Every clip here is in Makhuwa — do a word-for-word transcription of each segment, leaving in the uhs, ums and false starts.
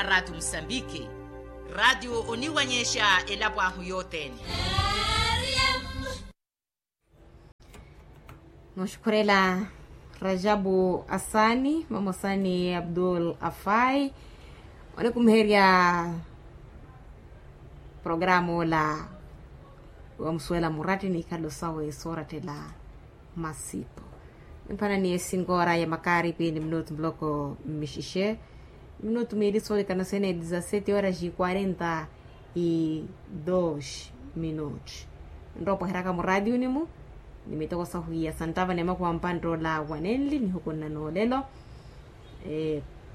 Ratio musambiki. Ratio oniwanyexa elapo ahu yothene. Nooxukhurela rajabu asani vamosa ni abdul afai, onikumiherya programa ola wamusuwela muratti ni ikhalo sawe soorattela masipo. Mphana ni esinkoora ya makaripi ni minutu muloko mmixixe. Minutu miili soolikana sene dizasete horas e quarenta e dos minutos. Nropo heraka muraatiuni-mu ni mitoko sahuwiya santtava ni makuwa mpantta ola wanenli nihukunna noolelo.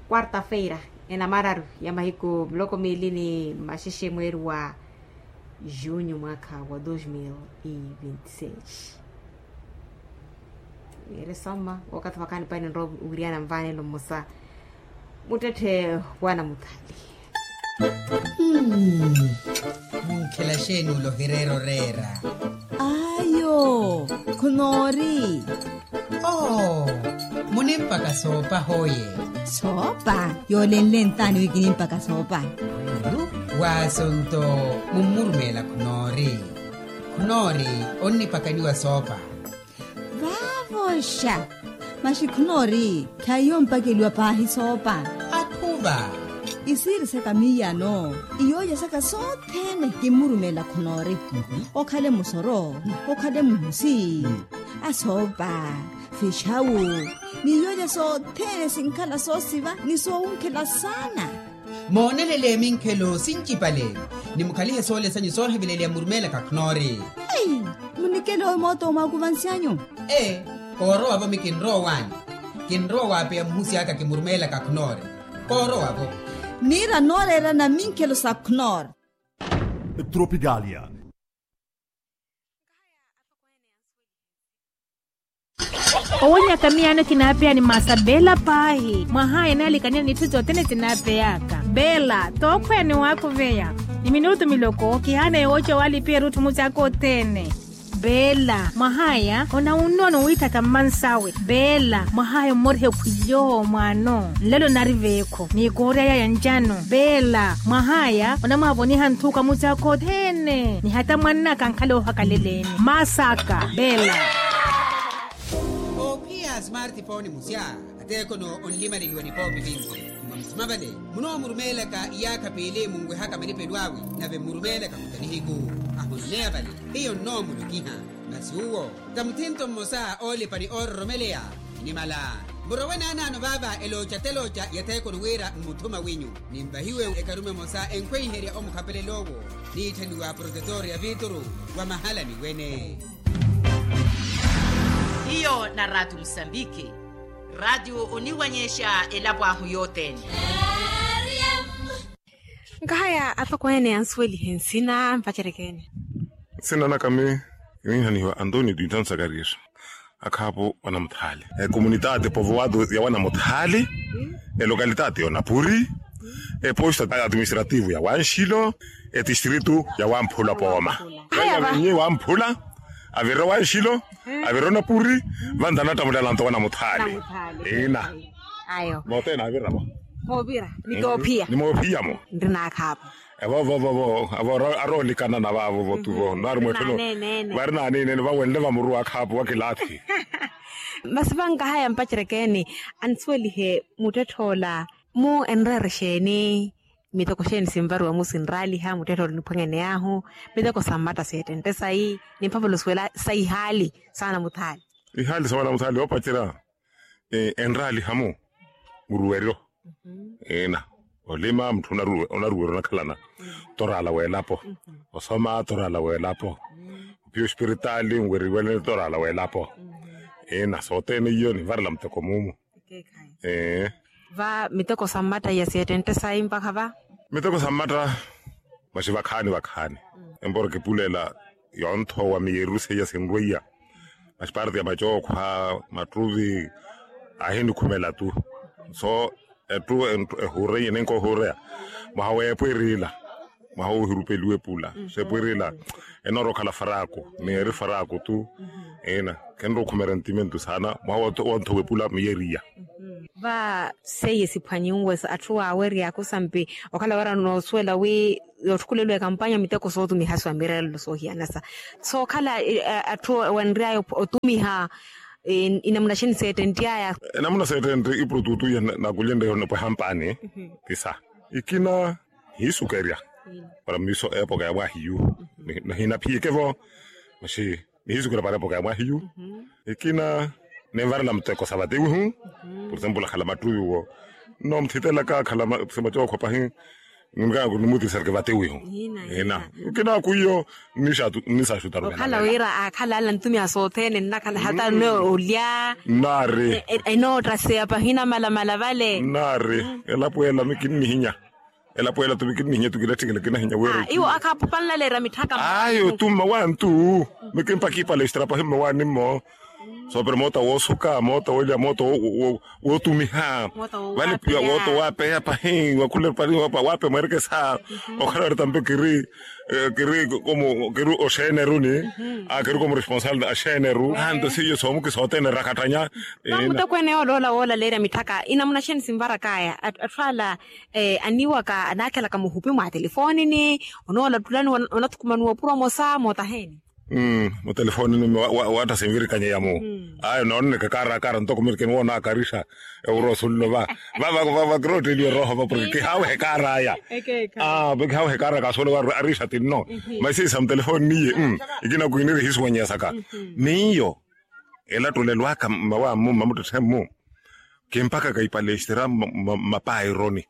Quarta feira enamararu ya mahiku muloko miili ni maxexe mweeri wa junho mwakha wa dos mil e vinte seis. Ere soma wakathi wakhaani paini nrowa wiriana mvaanelo mmosa muttetthe wana muthali. Munkhela xeeni ula ohireera oreera? Ayo, khunoori. Oo, munimpaka soopa hoye? Soopa yoolenle ntaani wi kinimpaka soopa? Waaso nto mummurumeela khunoori. Khunoori onnipakaniwa soopa. Vaavoxa. Maxi khunoori khaiyo mpakeliwa paahi soopa. Akhuva. Isiiri saka miiyano iyooja saka sothene kimmurumeela khunoori. Okhale musoro, okhale muhusi, asoopa, fixawu, ni iyooja sothene sinkhala soosiva ni soowunkhela saana. Moonelele minkhelo sincipale ni mukhalihe soole sanyu sooheveleliya mmurumeela kakhnoori. Ei, munikele owi mooto omwakuvansi anyu. Ee, koorowa-vo mi kinrowa owaani. Kinrowa waapeya muhusi aka kimurumeela kakhnoori. Koorowa-vo. Niira nooreerana minkhelo sa khnoori. Tropicalia. Owonyaka miyaano kinaapeya ni masa beela paahi mwahaya enaalikaniya n'itthu sothene sinaapeyaka. Beela tookhweya ni waakuveya ni minutu miloko kihaana yooca owalipiya erutthu musi aka othene. Beela mwahaya onawunnono wiitthaka mmansawe. Beela mwahaya ommorihe khwiyo mwaano nlelo nari veekho ni koorya yaya ncano. Beela mwahaya onamwaavoniha nthuka musi aka othene ni hata mwannaka ankhala oohakaleleeni masaka. Beela. Oophiya smartphone musya ateekhono onlimaleliwa nipoopi vinci. Mwa musima vale munoomurumeelaka iyaakha piili munwehaka malipelo awe nave mmurumeelaka muta nihiku. Ahoneya vale hiyo nnoomulokiha. Masi uwo ta muthinto mmosa oolipa ni oororomeleya. Nimala murowe naanaano vaava elooca telooca ya theekoni wira mmuthuma winyu nimvahiwe ekarume emosa enkhweiherya omukhapelela owo niitthaniwa protetor ya vituru wa mahalani wene. Hiyo na ratu musambiki. Ratu oniwanyexa elapo ahu yothene. Nkahaya atokweene ansuwelihe nsina mpacerekeene. Nsina naka mi kininhanihiwa antonio duitan sakarias. Akhaapo wanamuthaali. Ekomunitaati povowato ya wanamuthaali. Elokalitati y'onapuri. Eposta atiministrativu ya wanxilo. Etistritu ya wamphula pooma. Haya va. Nyi wamphula avira wanxilo. Avira onapuri. Vantha anattamulelanto wanamuthaali. Ina. Ayo mothene avira vo. Moovira ni toophiya ni moophiya mo. Nri naakhaavo. Evo vo vo vo avo aroolikana na vaavo vo tu vo naari mwetthelo. Vari naaniinene vawenle vamuruwa akhaapo wa kilaathi. Masi vankahaya mpacerekeeni ansuwelihe muttettha ola. Mu enreera exeeni? Miteko exeeni sinvariwa mu sinraaliha muttettha ola oniphwanyane ahu. Miteko sa mmatta seettentte sayi ni mphavolo suwela sa ihaali sa wanamuthaali. Ihaali sa wanamuthaali oopacerya. Enraaliha mu muruweryo. Ina olima mutthu onaruwerya onakhalana. Toraala w'elapo osoma toraala w'elapo. Ophiya ospiritaali nweriwelene toraala w'elapo. Ina sothene iyo nivarela muteko mumu. Ee. Va miteko sa mmatta iya seettentte sayi mpakha va. Miteko sa mmatta maxi vakhaani vakhaani. Empora kipulela yonthowa miyeru seiya sinrweiya. Maxi parte ya macookhwa mattuvi ahinikhumela tu. So etthu ehureiye ninkohureya mwaha w'eepo eriila. Mwaha woohirupeliwa epula seepo eriila. Enoora okhala faraku ni eri faraku tu. Ina khenrookhumerya ntimentu saana mwaha wonthowa epula miyeriya. Va seiye siphwanyinwe sa atthu waawerya yakusampi okhala wira noosuwela wi yootthukuleliwa ekampanya miteko sootumiha swa mirelelo soohiyanasa sookhala atthu wenry'aya otumiha. Inamuna xini seettentt'aya? Enamuna seettentte ipurututu iya nakulyenteiho nipweha mpaani. Kisa ikina nihiisukerya para miiso eepoka ya mwaahiyu. Nihinaphiyeke-vo maxi nihiisukerya para eepoka ya mwaahiyu. Ikina ninvarela muteko sa vatewihu. Purtempula akhala mattuwi wo nno muthitelaka akhala sima cookhwa pahi. Nunka nimutisarike vatewihu. Ina. Ikina kwiyo nnisaxutarukhala wira aakhala ala ntumiha sothene nnakhala hata nno olya nnaari. Enoottaseya pahina malamala vale nnaari. Elapo ela mikinnihinya. Elapo ela tu mikinnihinya tu kilatthikela kinahinya wira iwo akhapanlaleerya mitthaka ayo tu mmawantu. Mikimpaka ipalestra pahi mmawanimmo. Soopera moota woosuka moota wolya moota wootumiha vale piya woota waapeya pahi wakhule pali waapeya mwerekesa. Okhala wira tampe kiri kiri oxeeneruni kiri komu responsable axeeneru anto seiyo soomuki sootene rakatthanya. Muteko ene yooloola woolaleerya mitthaka inamuna xeni sinvarak'aya atthu ala aniwaka anaakhelaka muhupi mwa telefoonini onoola ttulani onathukumaniwa opuro omosa mootaheeni. Mutelefoonini waatta sinvirikanye yamu ayo noonneke kaara kaara ntoko mirikeni woonaakarixa ewuro osunlo va vava vakirotteliwe rooho va porke kihaawehe kaar'aya. Kihaawehe kaar'aya kaasuwela wira arixa tinno. Masi sa mutelefoonini iye ikina kwiiniri ehisuwanyeyasaka miyo elattulelo aka mmawamu mmamuttetthe-mu kimpakaka ipalestra mmapaironi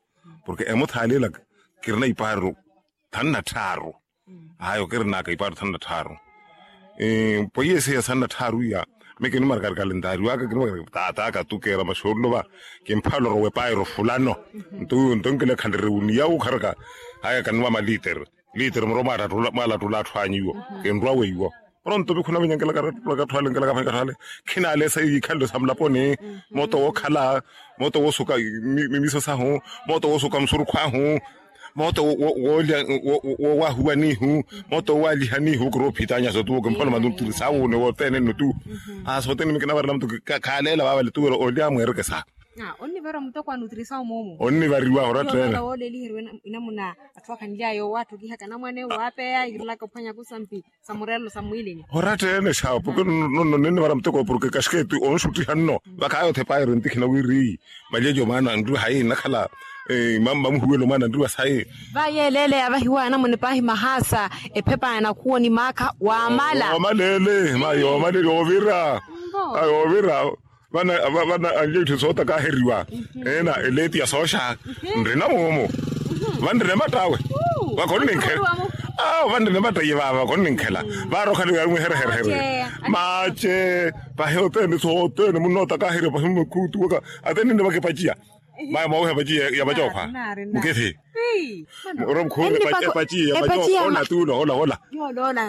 porke emuthaali ela kirina ipaaru thanu na tthaaru. Ayo kirinaka ipaaru thanu na tthaaru. Pweiye seiya thanu na tthaaru iya mikinimwarikari kalentari waka kinimwarikari taataka tu keera maxoololo va kimphalorowa epaaru fulano. Nto wiwo nto nkilekhaleriwe oniya wukharaka haya kaniwa maliitere liitere muro mwaalattula atthu anyu iwo kinrwa weiwo. Pronto vikhuna vinyankelaka atthu ale nkelaka vanyi atthu ale khinaalesa iikhalelo sa mulaponi. Mooto wookhala mooto woosuka mimiso sahu mooto woosuka musurukhu ahu mooto woolya woowahuwanihu mooto woowalihanihu kiri ophitanya sotuwo kimphona manuturi saawuune wothene nnutu. Sothene mikinavarela mutu khaaleela vaavale tuwira olya mwerekesa. Onnivariwa muteko wa nutrisawu moomu onnivariwa orattene. Wooleliheriwe inamuna atthu akhanly'aya owaatthukihaka anamwane waapeya irilaka ophwanya kusampi sa murelelo sa mwiilini. Orattene xawo porke nonno ninnivara muteko porke kaxiketi onxuttiha nno vakhaayothe pairo ntikhina wiri malyejo mwaana anriwa hayi nnakhala mamuhuwelo mwaana anriwa sayi. Vayeeleele yavahiwa anamwane paahi mahaasa ephepa ya nakhuwo ni maakha waamala. Yoomalele mayi yoomalele oovira. Ayi oovira vana vana anlya itthu sootakaheriwa ena eleeti ya sooxa. Nrina moomo vanrina emattawe vakonninkhela. Awo vanrina emattaye vaava vakonninkhela vaarokha ni yarimwihereherehere. Mace pahi othene sothene munnootakaheriwa pahi mmakhuutuwaka athene ninivaka epaciya. Maya mwawuha epaciya ya vacookhwa mukithi. Muro mukhuure epaciya ya vacookhwa ola tuula ola ola.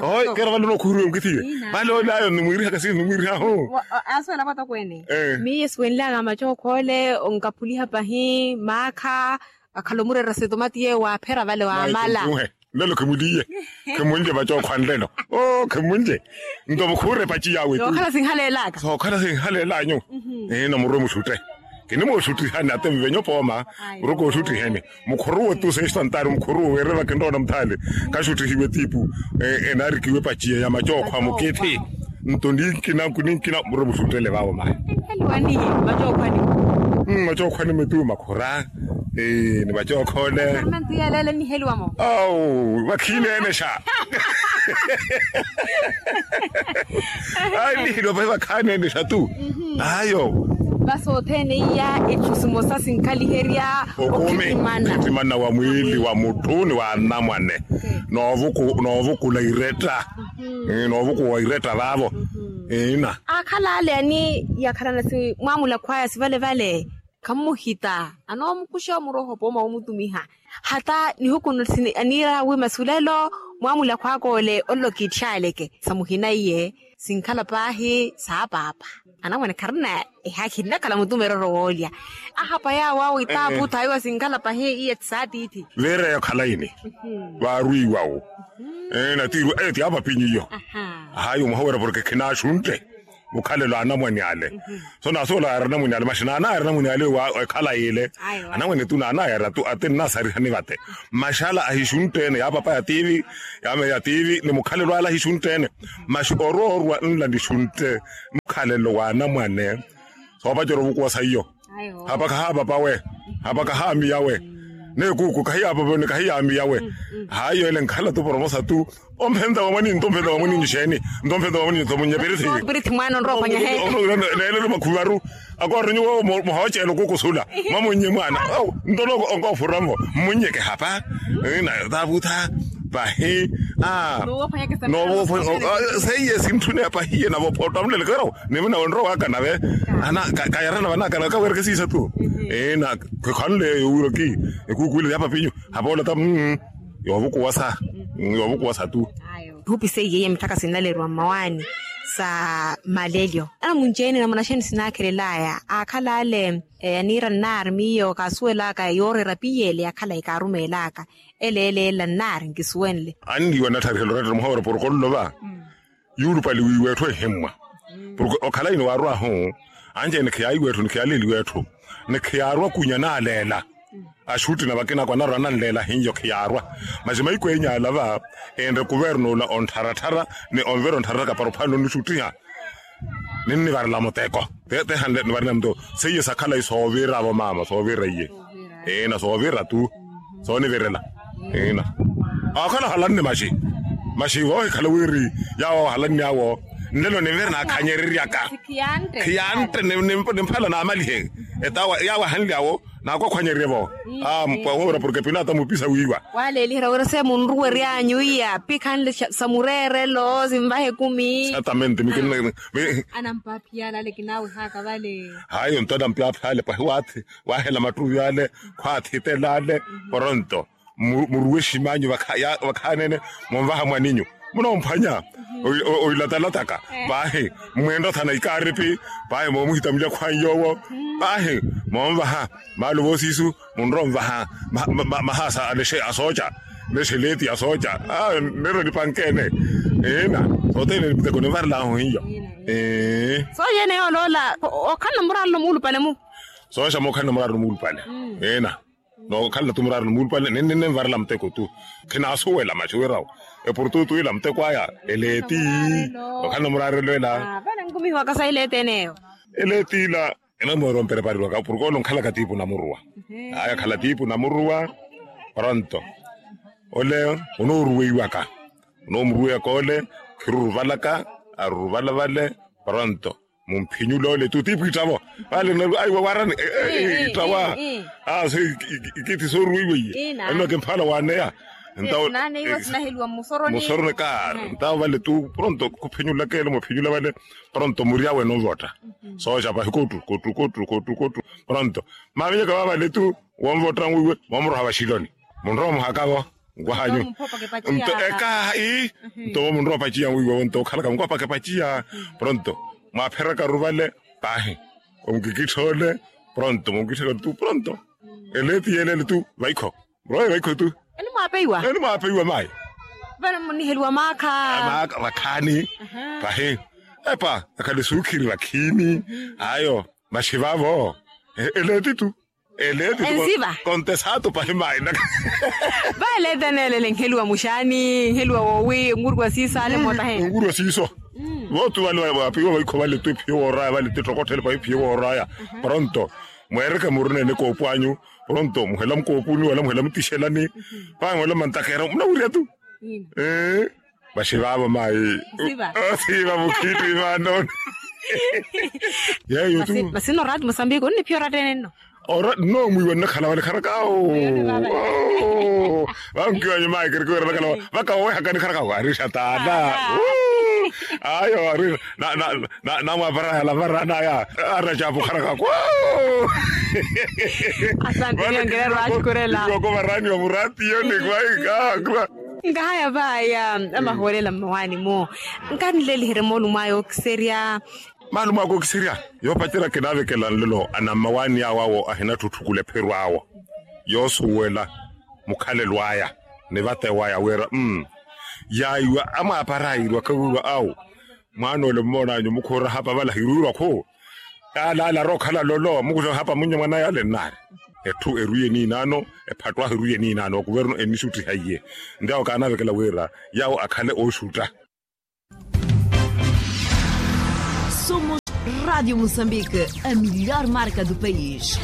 Oho kera vale onookhuriwe mukithiwe vale ole ayo nimwiirihaka sini nimwiirihahu. Asuwela vatokweene miyo esiwenlyaka macookho ole onkaphuliha pahi maakha akhala omureera setomati yeeyo waaphera vale waamala. Nlelo khimuliye khimunlye vacookhwa nlelo. Oo khimunlye nto mukhuure epaci yawe tu sookhala sinhaleelaka sookhala sinhaleelanyu. Ino murwe muxutte kinimooxuttihani ate mvenyo pooma murwe kooxuttiheni. Mukhuruwe tu sextantari mukhuruwe weereva kinroona muthaale kaxuttihiwe tiipu enaarikiwe epaciya ya macookhwa mukithi. Nto ninkina nkuninkina murwe muxuttele vaavo mayi. Macookhwa ni mitu makhura ni macookhole. Awu vakhiineene xa ayi nihilwa vahi vakhaneene xa tu. Ayo vasi othene iya etthu simosa sinkhaliherya okhitimana okhitimana wa mwiili wa mutthu ni wa anamwane. Noovukula iretta. Noovukuwa iretta vaavo ina. Akhala ale ani yakhalana si mwamulakho aya sivale vale khamuhita anoomukuxa omuroho pooma womutumiha. Hata nihuku aniira wi masulelo mwamulakho aka ole olelo kiitthaaleke sa muhina iye sinkhala paahi saapaapa. Anamwane kharina ehaakhi nnakhala mutumerero woolya ahapa yaawo awo itaapu thaiwa sinkhala pahi iye saatiithi. Veera eyo khalaini vaarwiiwawo. Natiirwa eyo ti apapinyu iyo. Ahayi omuhowera porke khinaaxuntte. mukhalelo a anamwane ale. So naasuwela yaari anamwane ale maxi naanayari anamwane ale wa ekhala yile. Anamwane tu naanayari atu ati nnasarihani vate. Maxala ahixuntte-ene ya papa ya tiivi, ya meya tiivi ni mukhalelo ale ahixuntte-ene. Maxi oroorwa nla nixuntte mukhalelo wa anamwane. Soopacerya ovukuwa saiyo. Hapa kahaapapawe. Hapa kahaamiyawe. N'ekuuku kahiyaapapawe ni kahiyaamiyawe. Haayo ele nkhala tu poromosa tu. Omphenza wa mwaninyu nto omphenza wa mwaninyu xeeni? Nto omphenza wa mwaninyu nto munnye pirithi. Pirithi mwaana onrowa ophwanya heeka. Neelelo makhuvaru. Akooronyuwa muhooceela okukusula mwamunnye mwaana. Nto onkoofura-vo mmunnye kehapa. Nataavutha pahi. Seiye sintthune pahiye navo photta mulelekero. Nimina onrowaaka nave. Kayarana vanaaka nave kawereke siisa tu. Ina khikhanle yowiraki ekuuku ile ya papinyu. Hapoola ta. Yoovukuwasa. Yoovukuwasa tu. Kihupise iye mitthaka sinnaleriwa mmawaani sa malelyo. Anamunci-ene namuna xeeni sinaakhelelaya aakhala ale. Aniira nnaari miyo kaasuwelaka yooreera piyeele ya khalayi kaarumeelaka. Ele ele ela nnaari nkisuwenle. Anniiwa nattharikhela orattela muhawera poroko nlova. Yuulupale wiiwa etthu ehimmwa. Poroko okhala ino waarwahu. Anci-ene khiyaayiwa etthu ni khiyaaleeliwa etthu ni khiyaarwa kunya naaleela. Axutti na vakinako anarwa nanleela hiyo khiyaarwa. Maxi mahiku eenyu ala va enre kuverno ola onttharattharaka ni onvera onttharattharaka para ophwanela onixuttiha. Ninnivarela muteko. Tehanle nivarela muteko. Seiye sakhalayi sooviravo maama sooviraiye. Ina soovira tu. Soonivirela. Ina aakhala ohalanne maxi. Maxi voohikhala wiri yaawo ahalanne awo. Nlelo ninvira naakhanyereryaka. Khiyantte nimphala naamalihe. Etawa yaawo ahanle awo. Naakwakhwanyerye-vo. Mpwa wowira porke pilato amupisa wiiwa. Waaleeliherya wira se munruwery'anyu iya pikhanle sa mureerelo sinvaha ekumi. Satamente. Anampaaphiyale ale kinaawihaka vale. Hayo nto anampaaphiyale pwahi waathi. Waahela mattuvi ale. Khwaathitela ale. Poronto muruwe ximanyu vakhaanene. Monvaha mwaninyu munoomphwanya. Oilatalataka. Paahi mmwenttothana ikaaripi. Paahi moomuhita mulyakhwanyu yoowo. Paahi moonvaha maalo voosiisu. Munroonvaha mahaasa alexe asooca. Lexe leeti asooca. Nero nipankeene. Ina sothene niputeko ninvarelahu hiyo. Sooyene yooloola okhalana muraarelo muulupale-mu. Sooxa mookhalana muraarelo muulupale. Ina nookhalana tu muraarelo muulupale ninninvarela muteko tu. Khinaasuwela maxi wirawo epurututu ila muteko aya. Eleeti. Okhalana muraarelo ela. Vale nkumihiwaka sa eleeti eneyo. Eleeti ila. Ena mooro mperepariwaka porke ole onkhalaka tiipu namuruwa. Aya khala tiipu namuruwa. Pronto ole onooruweiwaka. Onoomuruweyaka ole khiruruvalaka. Aruruvala vale. Pronto mumphinyule ole tu tiipu ittavo. Vale aiwa warani. Ittawa. Aso ikithi sooruweiweiye. Eno kimphala waaneya. Musoroni ka ntawo vale tu pronto khuphinyulaka ele muphinyula vale. Pronto muryawe novotta. Sooxa pahi kottu kottu kottu kottu kottu. Pronto mavenyaka vavale tu wonvotta nwiiwe moomuroha vaxiloni. Munrowa muhakavo. Nkwahanyu nto ekaha ii. Nto munrowa opaciya nwiiwe wonto okhalaka mukwapaka epaciya. Pronto mwaapheraka ruvale. Pahi omukikittha ole. Pronto mumukitthaka tu pronto. Eleeti yelele tu vaikho. Roye vaikho tu. Eni mwaapeiwa eni mwaapeiwa mayi. Vale munniheliwa maakha. Maakha vakhaani. Pahi epa ekhale suukhiri vakhiini. Ayo maxi vavo. Eleeti tu. Eleeti tu. Ensiva kontesaatu pahi mayi naka. Vale eteneelele nheliwa muxaani nheliwa woowi nkuruwa siiso ale mootahe. Nkuruwa siiso. Vootu vale vaapiwa vaikho vale tu ephiyo wooraya vale tu ettokotthelo pahi ephiyo wooraya. Pronto mweereke muruneene koopu anyu. Pronto muhela mukoopuni wala muhela mutixelani. Pahi muhela mantakera munawirya tu. Ee. Vaxi vaavo mayi. Siva mukhittu imaanoni. Yeyo tu. Masi nno oraati musambiki onniphiya oraati ene nno. Oraati nno mwiiwa nnakhala vale kharakawo. Vankiwanyu mayi kereke wira nnakhala vaka wowehakani kharakawo arixa taala. Ayo arixa. Namwaparayala varanaya. Aracapu kharakakwa. Asante niyongererwa axukurela. Iwoko varaniwa muratiyo nikwaika. Nkahaya vaya amahoolela mmawaani-mo. Nkanileliherye moolumo aya ookiserya. Maalumo aka ookiserya yoopacerya kinaavekela nlelo anammawaani awo awo ahinatthutthu kulepherwa awo. Yoosuwela mukhalelo aya ni vate waya wira. Yaiwa amwaapara airwaka wiiwa awo. Mwaana ole mmoonanyu mukhuura hapa vala hiruurwa khu. Yaala alaara okhala lolo mukuxa hapa munnya mwaana yaala ennaari. Etthu erwiye niinaano. Ephattu ahu erwiye niinaano wa kuvernu enixuttihaiye. Nti awo kaanavekela wira yawo akhale ooxutta. Somos Rádio Moçambique, a melhor marca do país.